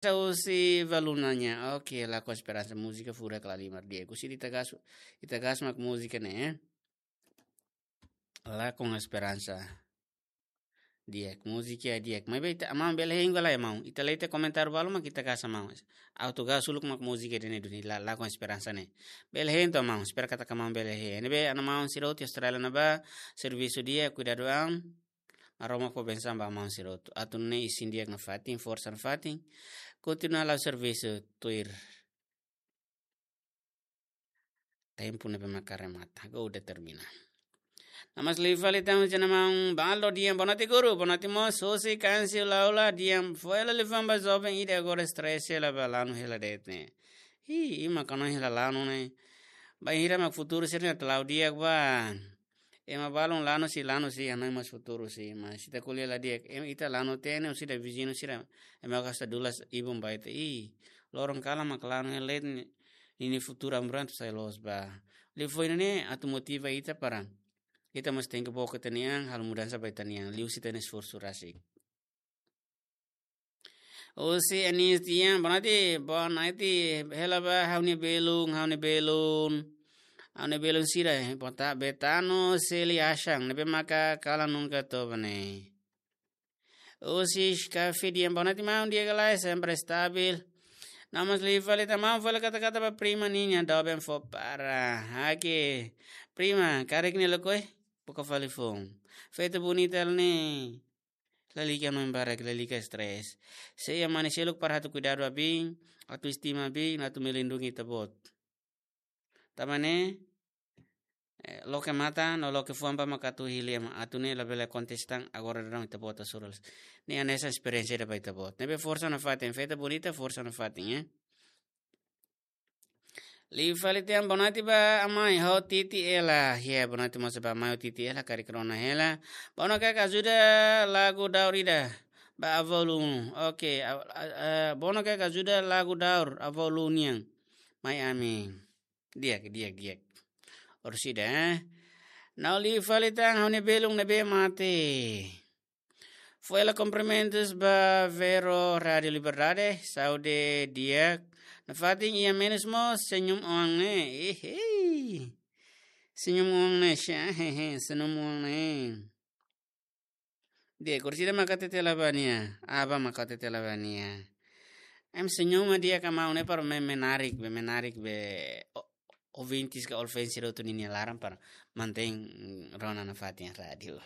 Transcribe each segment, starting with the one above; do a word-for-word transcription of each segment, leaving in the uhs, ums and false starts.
Husi Valunanya. Oke, Lakon Esperansa, múzika furak la halimar di'ak. Husi ita gas, ita gas mak múzika ne'e, eh. Lakon Esperansa. Di'ak, múzika di'ak. Maibé ita, maun bele hein ka lae, maun. Ita lee tiha komentáriu balu mak ita gas, maun. Auto gas uluk mak múzika ida-ne'e duni, la, Lakon Esperansa ne'e. Bele hein to'ok, maun. Espera katak maun bele hein. Ne'ebé, ana maun sira hotu iha Austrália ne'ebá, servisu di'ak, kuidadu an. Maromak fó bensaun ba maun sira hotu. Atu nune'e isin di'ak nafatin, forsa nafatin. Kontinua la'o servisu tuir tempu ne'ebé maka remata. Agora udah termina. Namás liu fali tan husi ana maun Baldo di'ak, boa noite guru, boa noite mós, husi Kansi Laula di'ak, foin hela liafuan ba joven ida agora stress hela ba lanu hela de'it ne'e. Hi, ima kano hela lanu ne'e. Bainhira mak futuru sira-ne'e atu la'o di'ak ba. Ema balun lanu sei, lanu sei, hanoin mós futuru sei, mas ita ko'alia la di'ak. Ema ita lanu tiha ne'e, husi ita viziñu sira. Ema gasta dulas ibun ba ita. Ih, loron kalan mak lanu hela de'it ne'e, ninia futuru amuran atu sai loos ba. Liafuan ne'e atu motiva ita para ita mós tenke book ita-nia an, halo mudansa ba ita-nia an, liuhusi ita-nia esforsu rasik. Husi Anis di'ak, boa noite, boa noite, hela ba ha'u-nia belun, ha'u-nia belun. Ha'u-nia belun sira, eh, bota Betano, Seli, Ashan, ne'ebé maka kalan nunka toba ne'e. Husi Skafi di'ak, boa noite maun, di'ak ka lae, sempre stabil. Namás liu fali tan maun, fó hela kata-kata ba prima ninia, doben fó para. Oke, prima, karik nia lakohi, buka fali foun. Feto bonita ne'e. Lalika no embara, lalika stress. Se iha mane seluk para atu kuidadu ba biin, atu estima biin, atu melindungi ita-boot. Tanba ne'e, eh, loke matan, no loke fuan ba mak atu hili ema, atu ne'e labele akontese tan, agora daudaun ita-boot hasoru. Ne'e hanesan esperiénsia ida ba ita-boot. Ne'ebé forsa nafatin, feto bonita, forsa nafatin, eh. Liu fali tan, boa noite ba amai, ho Titi Ela. Ya, boa noite mós ba amai, ho Titi Ela, karik rona hela. Bono kaka ajuda lagu daur ida ba avó Lu. Oke, a, a, a, bono kaka ajuda lagu daur avó Lu nian. Mai ami. Di'ak, di'ak, di'ak. Orsida, eh. Nau liu fali tan, ha'u-nia belun ne'ebé mate. Fó hela kumprimentus ba Vero Rádio Liberdade, saúde di'ak. Nafatin iha menus mós senyum oan ne'e. Ihei. Senyum oan ne'e, sha, hehe, senyum oan ne'e. Di'ak, orsida maka hatete la ba nia, aban maka hatete la ba nia. Em senyum di'ak ka maun ne'e para me-, menarik be, menarik be o-, ouvintes ka ouvinte sira hotu ninia laran para mantein, mm, rona nafatin rádiu.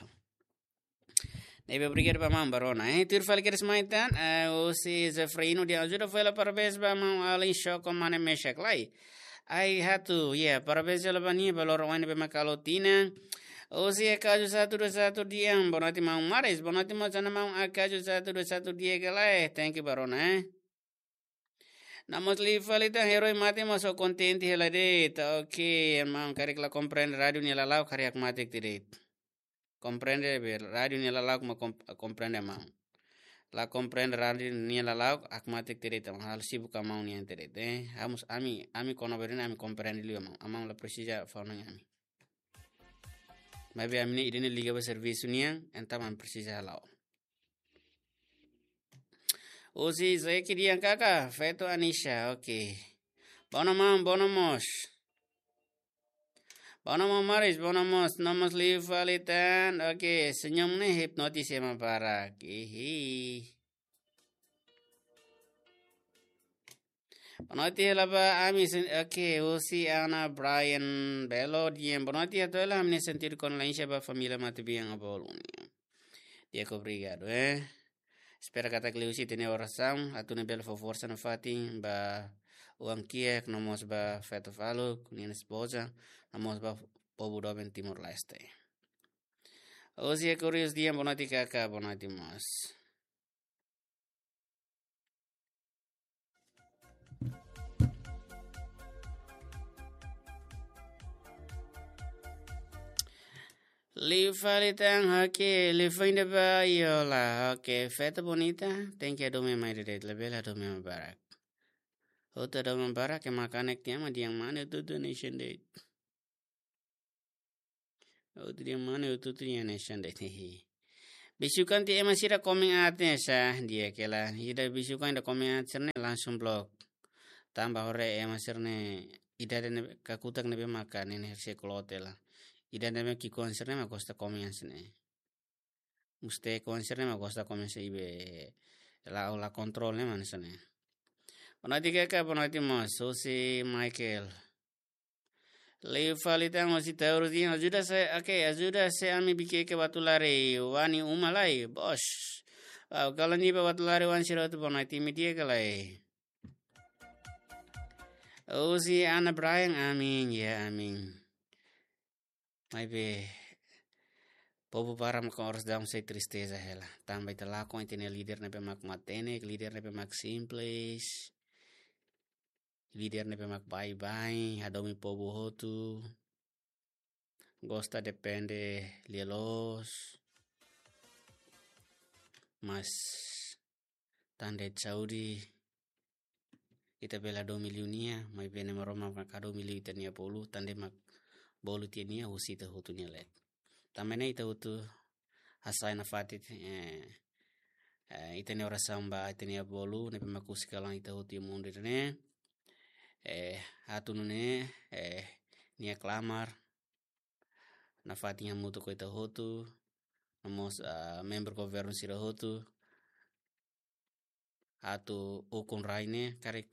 Ne'ebé obrigadu ba maun ba rona. Eh, tuir fali kedas mai tan, eh, husi Zefrino di'ak, ajuda fó hela parabéns ba maun Alin Shoko mane Meshak lai. Ai hatu, ya, parabéns hela ba nia ba loron oin ne'ebé maka halo tinan. Husi Akaju satu dua satu di'ak, boa noite maun Maris, boa noite mós ana maun Akaju satu dua satu di'ak ka lae, thank you ba rona, eh. Namós liu fali tan, herói mate mós ho kontente hela de'it. Oke, maun karik la komprende rádiu nia lala'ok, karik hakmatek tiha de'it. Komprende be rádiu nia lala'ok mak kom-, komprende maun. La komprende rádiu nia lala'ok, hakmatek tiha de'it, maun, halo sibuk ka maun nian tiha de'it, eh. Ha'u mós, ami, ami kona-ba ida-ne'e ami komprende liu maun. Maun la presiza fó hanoin ami. Maibé ami-nia ida-ne'e liga ba servisu nian, entaun ami presiza hala'o. Husi Zeki di'ak kaka, feto Anisha, oke. Bono maun, bono mós. Bono maun Maris, bono mós, namós liu fali tan, oke, senyum ne'e hipnotis ema barak. Ihi. Boa noite hela ba ami sen-, oke, husi Ana Brian Belo di'ak, boa noite, hato'o hela ami-nia sentidu kondolénsia ba família matebian avó Lu nian. Di'ak, obrigadu, eh. Espera katak liuhusi ita-nia orasaun atu nune'e bele fó forsa nafatin ba oan kiak, nomós ba feto Falu, ninia espoza, nomós ba povu doben Timor-Leste. Husi Akurius di'ak, boa noite kaka, boa noite mós. Liu fali tan, oke, liu fali tan ba Yola, oke, feto bonita, tenke hadomi mai de'it, labele hadomi mai barak. Hotu hadomi mai barak, ema kanek tiha mak dehan mane hotu-hotu hanesan de'it. Hotu dehan mane hotu-hotu hanesan de'it. Bisukan tiha ema sira komen aat ne'e sá, di'ak hela. Ida bisukan ida komen aat sira-ne'e langsung blok. Tanba haree ema sira-ne'e idade ne'e kakutak ne'ebé maka ne'e ne'e sei kloot hela. Idade ne'ebé ki'ikoan sira-ne'e mak gosta komen aat sira-ne'e. Mustekuan sira-ne'e mak gosta komen aat sira-ne'e, be la, la kontrol ne'e mak hanesan ne'e. Bonoite kaka, bonoite mós, husi Michael. Liu fali tan husi Taurus dehan, ajuda sé, oke, ajuda sé ami Viqueque Batulari, wa'in uma lai, bos. Wow, kalan ida ba Batulari oan sira hotu, bonoite, imi di'ak ka lae? Husi Ana Brian, amin, ya, amin. Maibé, povu barak mak oras daudaun sei tristeza hela. Tanba ita lakon ita-nia líder ne'ebé mak matenek, líder ne'ebé mak simples, líder ne'ebé mak baibain, hadomi povu hotu, gosta depende lia-loos, mas tan de'it saúde, ita bele hadomi liu nia, maibé Nai Maromak mak hadomi liu ita-nia bolu, tan de'it mak bolu tiha nia husi ita hotu nia leet. Tanba ne'e ita hotu hasai nafatin, eh, eh, ita-nia orasaun ba ita-nia bolu, ne'ebé mak husik kalan ita hotu iha mundu ida-ne'e. Eh, atu nune'e, eh, nia klamar nafatin hamutuk ho ita hotu, no mós, ah, membru governu sira hotu, atu ukun rai ne'e, karik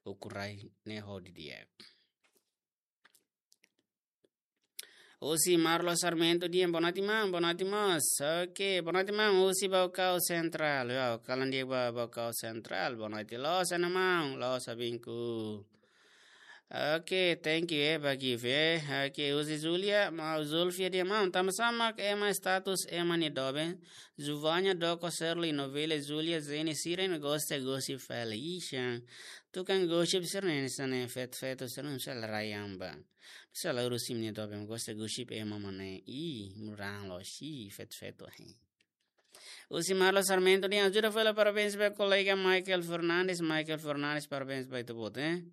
ukun rai ne'e ho di'ak. Husi Marlo Sarmento dehan, bonoite maun, bonoite mós. Oke, bonoite maun, husi Baucau Central. Ya, kalan di'ak ba Baucau Central, bonoite loos, ana maun, loos abinku. Oke, thank you, eh, ba gift, eh. Oke, husi Julia, maun Zulfia dehan, maun, tanba sá mak ema status ema nia doben, Juvanya, Doko, Shirley, Novela, Julia, Zeni, sira-ne'e gosta gosip fali. Ixi, tukan gosip sira-ne'e hanesan ne'e, feto-feto sira-ne'e, sira la rai an ba. Sira la urus imi-nia doben, gosta gosip ema mak ne'e. Ih, murang lo, si, feto-feto, eh. Husi Marlo Sarmento dehan, ajuda fali, parabéns ba kolega Michael Fernandes, Michael Fernandes, parabéns ba ita-boot, eh.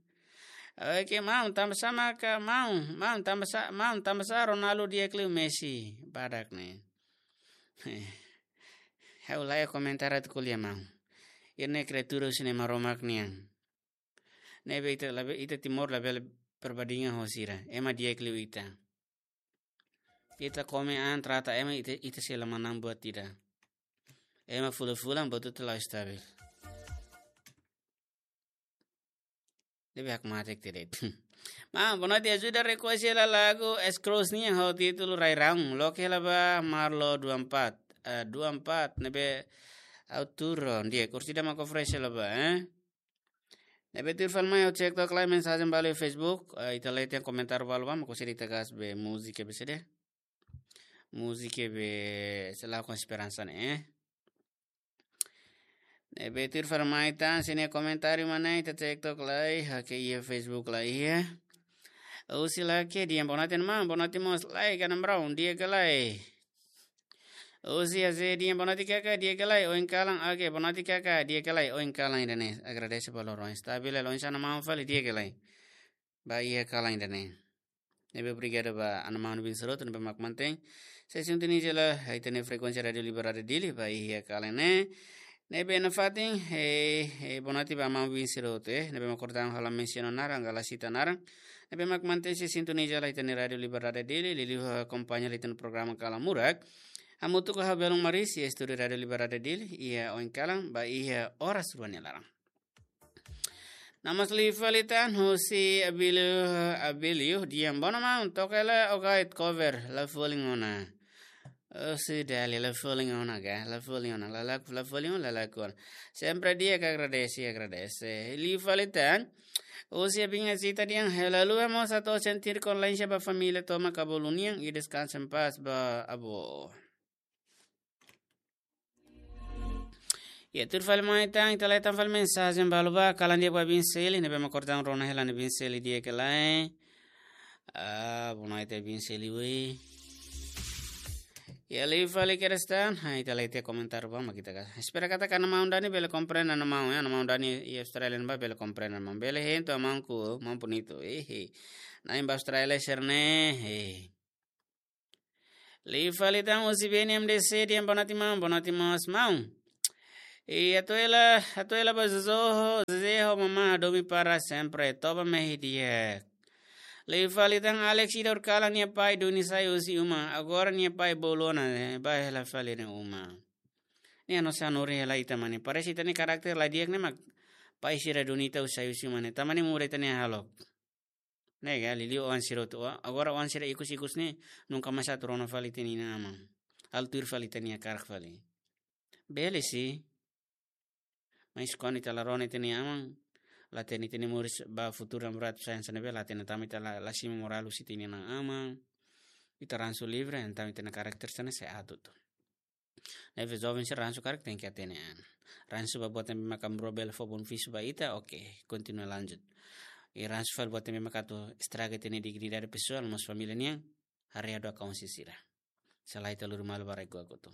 Oke, maun, tanba sá maka, maun, maun, tanba sá, maun, tanba sá Ronaldo di'ak liu Messi, badak ne'e. Ha'u la iha komentáriu atu ko'alia, maun. Ida-ne'e kriatura husi Nai Maromak nian. Ne'ebé ita labele, ita Timor labele perbandingan ho sira. Ema di'ak liu ita. Ita komen an, trata ema, ita, ita sei la manán buat ida. Ema fulan-fulan buat hotu la stabil. Ne'ebé hakmatek tiha de'it. Maun, bonoite, ajuda request hela lagu Scrooge nian ho títulu Rai Raun. Loke hela ba Marlo dua empat. Eh, dua empat, ne'ebé autor, di'ak, kursi da mako fresh hela ba, eh? Ne'ebé tuir fali mai ha'u cek tok lai mensajen balu iha Facebook, eh, ita lee tiha komentáriu balu ba, mak husi ita gas be múzika be sede. Múzika be Selalu Esperansa ne'e, eh. Ne'ebé tuir fali mai tan, sira-nia komentáriu mak ne'e, ita cek tok lai, oke, iha Facebook lai, iha. Husi Lake dehan, bonoite maun, bonoite mós, lai, Gana Brown, di'ak ka lae? Husi Aze dehan, bonoite kaka, di'ak ka lae, oin kalan, oke, bonoite kaka, di'ak ka lae, oin kalan ida-ne'e, agradese ba loron, stabil, loron sana maun fali, di'ak ka lae? Ba iha kalan ida-ne'e. Ne'ebé obrigadu ba ana maun bin Seroto, ne'ebé mak mantein sei sintonia hela ita-nia frekuénsia Rádiu Liberdade Dili, ba iha kalan ne'e. Ne'ebé nafatin, eh, eh, bonoite ba maun bin Seroto, eh, ne'ebé mak kordang ha'u la mensiona naran, ka la sita naran. Ne'ebé mak mantein sei sintonia hela ita-nia Rádiu Liberdade Dili, liuliu akompaña ita-nia programa Kalan Murak. Hamutuk ho ha'u Belun Maris, iha estúdiu Rádiu Liberdade Dili, iha oin kalan, ba iha oras rua nia laran. Namas liu fali tan husi Abilio, Abilio dehan bonoite maun, toka hela Ogaid cover, La Folin Ona. Oh, sudah, La Folin Ona ka, La Folin Ona, la, la, La Folin Ona, la, la, kuan. Sempre di'ak, agradese, agradese. Liu fali tan husi Abinha Zita dehan, hela lua mós atu sentir kondolénsia ba família tomak ka bolu nian, e descansa em paz ba avó. Ya, tuir fali mai tan, ita lee tan fali mensajen balu ba, kalan di'ak ba Bin Seli, ne'ebé mak kordang rona hela ne'e Bin Seli di'ak ka lae. Ah, bonoite Bin Seli, woi. Ya, liu fali kedas tan, ha, ita lee tiha komentáriu ba, mak ita ka. Espera katak ana maun Dani bele komprende, ana maun, ya, ana maun Dani iha Austrália ba bele komprende, maun. Bele hein to'ok, maun, ku, maun Punitu, eh, eh. Na'in ba Austrália sira-ne'e, eh. Liu fali tan husi B N M D C, di'ak, boa noite maun, boa noite mós maun. I atu hela, atu hela ba Jojo, José ho mamá Adomi para sempre, toba mehi di'ak. Liu fali tan Alex, ida horiseik nia pai duni sai husi uma, agora nia pai bolu ona, eh, ba hela fali nia uma. Nia no sanuri hela ita mane. Parese ita-nia karakter la di'ak ne'e mak pai sira duni ita sai husi uma ne'e. Tanba ne'e muda ita-nia hahalok. Ne'e ka, liuliu oan sira hotu. Agora oan sira ikus-ikus ne'e, nunka mais atu rona fali ita-nia aman. Atu tuir fali ita-nia hakarak fali. Bele sih. Mas kuandu ita la rona ita-nia aman, la hatene ita-nia moris ba futuru namoradu sai hanesan ne'ebé, la hatene, tanba ita la, la simu morál husi ita-nia aman. Ita ransu livre, entaun ita-nia karakter sira-ne'e sei atu tu. Ne'ebé joven sira ransu karik tenke hatene an. Ransu ba buat ne'ebé maka bro bele fó benefísiu ba ita, oke, kontinua lanjut. I ransu fali buat ne'ebé maka atu estraga ita-nia dignidade pesoál, mós família nian, haree dua kaun sira. Selae ita lori malu ba rai kotuk.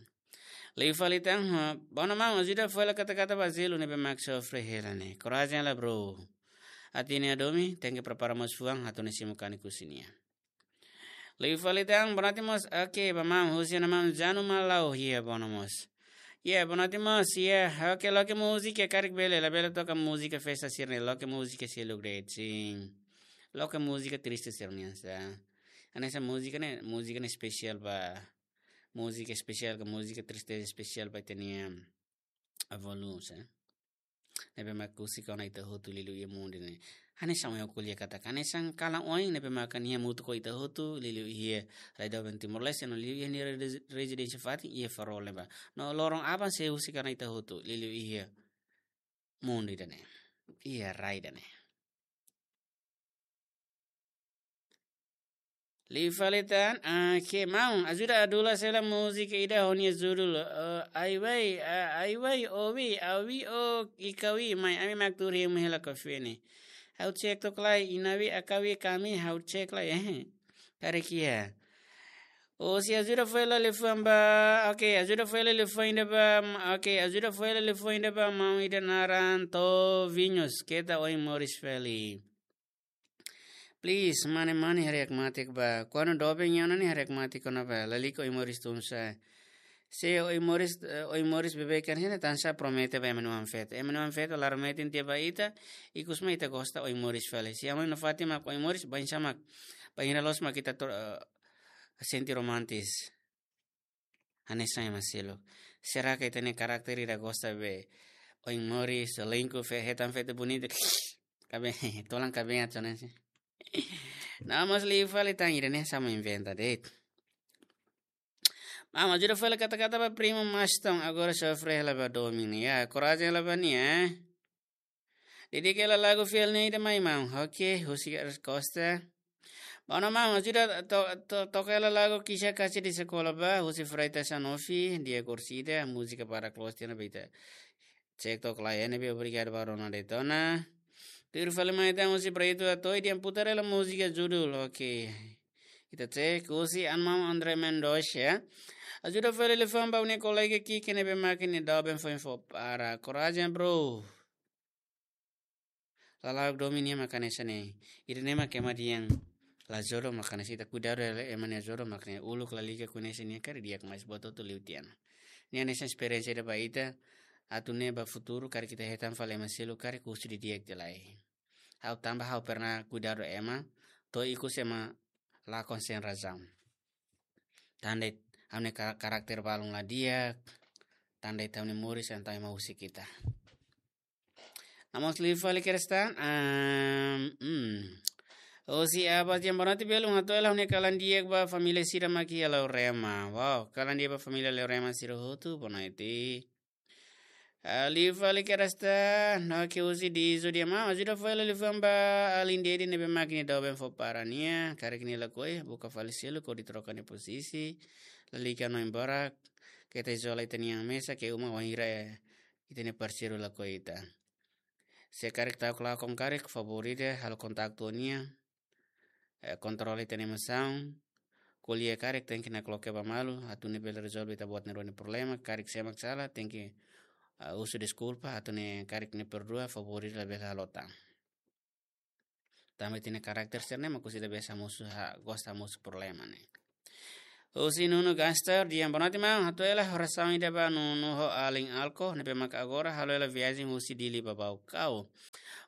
Liu fali tan, ha, boa noite maun, ajuda fali kata-kata ba Zelu ne'ebé mak sofre hela ne'e. Korajen hela bro. Hatene Adomi, tenke prepara mós fuan, atu nune'e simu kanek husi nia. Liu fali tan, boa noite mós, oke, ba maun, husi ona maun Janu Malau, iha, boa noite mós. Iha, boa noite mós, iha, oke, loke múzika karik bele, labele toka múzika festa sira-ne'e, loke múzika seluk de'it, sin. Loke múzika triste sira-ne'e, sa. Hanesan múzika ne'e, múzika ne'e espesiál ba, múzika espesiál ka, múzika triste espesiál ba ita-nia avó Luz, eh. Ne'ebé mak husik ona ita hotu liuliu iha mundu ne'e. Hanesan ohin ha'u ko'alia katak, hanesan kalan oin ne'ebé mak nia hamutuk ho ita hotu liuliu iha rai doben Timor-Leste no liuliu iha nia rezi-, rezidénsia fatin iha Farol ne'ebá. No loron aban sei husik ona ita hotu liuliu iha mundu ida-ne'e. Iha rai ida-ne'e. Liu fali tan, ah, ke maun, ajuda Adula sela múzika ida ho nia judul, eh, Ai Wai, ah, Ai Wai, Owi, Awi, O, Ikawi, mai ami mak tuur hemu hela kafé ne'e. Ha'u cek tok lai, Inawi, Akawi, Kami, ha'u cek lai, eh. Karik iha. Husi ajuda fali liafuan ba, oke, ajuda fali liafuan ida ba, oke, ajuda fali liafuan ida ba maun ida naran Tovinhos, keta oin moris fali. Please, mane-mane haree hakmatek ba. Kuandu doben iha ona ne'e haree hakmatek ona ba. Lalika oin moris tun sa'e. Se oin moris, eh, oin moris beibeik hanesan ne'e tansá promete ba ema nia oan-feto. Ema nia oan-feto laran metin tiha ba ita, ikus mai ita gosta oin moris fali. Se aman no Fátima oin moris, bainsá mak, bainhira loos mak ita to-, eh, sente romantis. Hanesan ema seluk. Será que ita-nia karakter ida gosta be oin moris, selingkuh, fe-, hetan feto bonita. Kaben, tolan kaben atu hanesan. Nah, mas liu fali tan ida-ne'e sama inventa de'it. Maun, ajuda fali kata-kata ba primo Maston, agora sofre hela ba domin. Ya, korajen hela ba nia, eh. Dedika hela lagu fiel ne'e ida mai maun. Oke, husi Costa. Boa noite maun, ajuda to-, to-, toka hela lagu Kisah Kasih di Sekolah ba, husi Freitas Sanofi, di'ak orsida, múzika para close tiha ona ba ita. Cek tok lai ne'ebé, obrigadu ba rona de'it ona. Tuir fali mai tan husi Brito Atoi, di'ak, putar hela múzika judul, oke. Ita cek husi an maun André Mendoza. Ajuda fali liafuan ba ha'u-nia kolega Kiki ne'ebé mak nia doben foin fó para. Korajen, bro. Lala'ok domin nian mak hanesan ne'e. Ida-ne'e mak ema dehan la jodoh mak hanesan, ita kuidadu hela ema nia jodoh mak ne'e, uluk lalika koñese nia karik di'ak, mas buat hotu liu tiha ona. Nia hanesan esperiénsia ida ba ita, atu nune'e ba futuru karik ita hetan fali ema seluk karik husu didi'ak tiha lai. Ha'u tanba ha'u pernah kuidadu ema, to'o ikus ema lakon sein razaun. Tan de'it ha'u-nia ka-, karakter balun la di'ak, tan de'it ha'u-nia moris entaun ema husik ita. Nah, mós liu fali kedas tan, am, hmm. Husi Abas Jam, boa noite belun, hato'o hela ha'u-nia kalan di'ak ba família sira mak iha Laurema. Wow, kalan di'ak ba família Laurema sira hotu, boa noite. Ah, liu fali kedas tan, no ke husi Dizu, di'ak maun, ajuda fali liafuan ba alin Dedi ne'ebé mak nia doben fó para nia, karik nia lakohi, buka fali seluk hodi troka nia pozisi, lalika no embora, keta izola ita-nia mesak iha uma wainhira ita-nia parseiru lakohi ita. Se karik ta'uk lakon karik, favór ida halo kontaktu ho nia, eh, kontrola ita-nia emosaun, ko'alia karik tenke nakloke ba malu, atu nune'e bele rezolve ita-boot nia rua nia problema, karik sé mak sala, tenke, ah, husu deskulpa, atu nune'e karik nia perdua, favór ida labele halo tan. Tanba ita-nia karakter sira-ne'e mak husi ida be hamosu ha-, gosta hamosu problema ne'e. Husi Nuno Gaster, di'ak, boa noite maun, hato'o hela orasaun ida ba Nuno ho alin Alko, ne'ebé maka agora halo hela viajen husi Dili ba Baucau.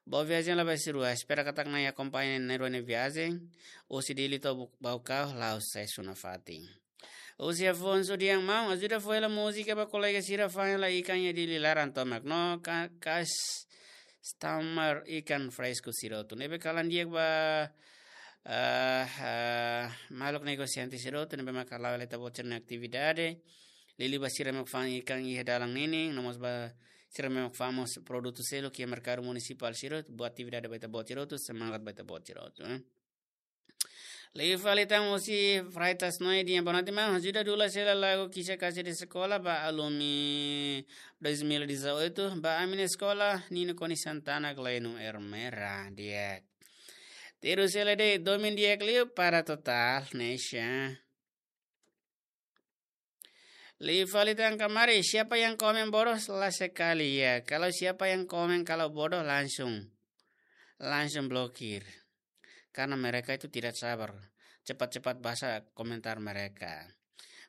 Boa viajen Labaixirua, espera katak Na'i akompaña nia rua nia viajen husi Dili to'o Bu-, Baucau, la'ós susesu nafatin. Husi Afonso, di'ak maun, ajuda fó hela múzika ba kolega sira fa'an hela ikan iha Dili laran tomak no ka-, kas tamar ikan fresku sira hotu. Ne'ebé kalan di'ak ba, ah, ah, maluk negosiante sira hotu, ne'ebé maka la'o hela ita-boot sira-nia atividade. Liuliu ba sira mak fa'an ikan iha dalan ninin, no mós ba sira mak fa'an mós produtu seluk iha merkadu munisipál sira hotu, boa atividade ba ita-boot sira hotu, semangat ba ita-boot sira hotu, eh. Liu fali tan husi Freitas Noe, di'ak, boa noite maun, ajuda dula hela lagu Kisah Kasih di Sekolah ba alumi dois mil e dezoito, ba ami-nia eskola, Nino Koni Santana, Gleno Ermera, di'ak. Terus hela de'it, domin di'ak liu para total, Nesha. Liu fali tan kamari, siapa yang komen bodoh, la sekali ya. Kalau siapa yang komen kalau bodoh, langsung, langsung blokir. Karena mereka itu tidak sabar. Cepat-cepat baca komentar mereka.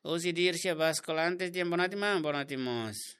Husi Dircia Bascolantes, di'ak, boa noite maun, boa noite mós.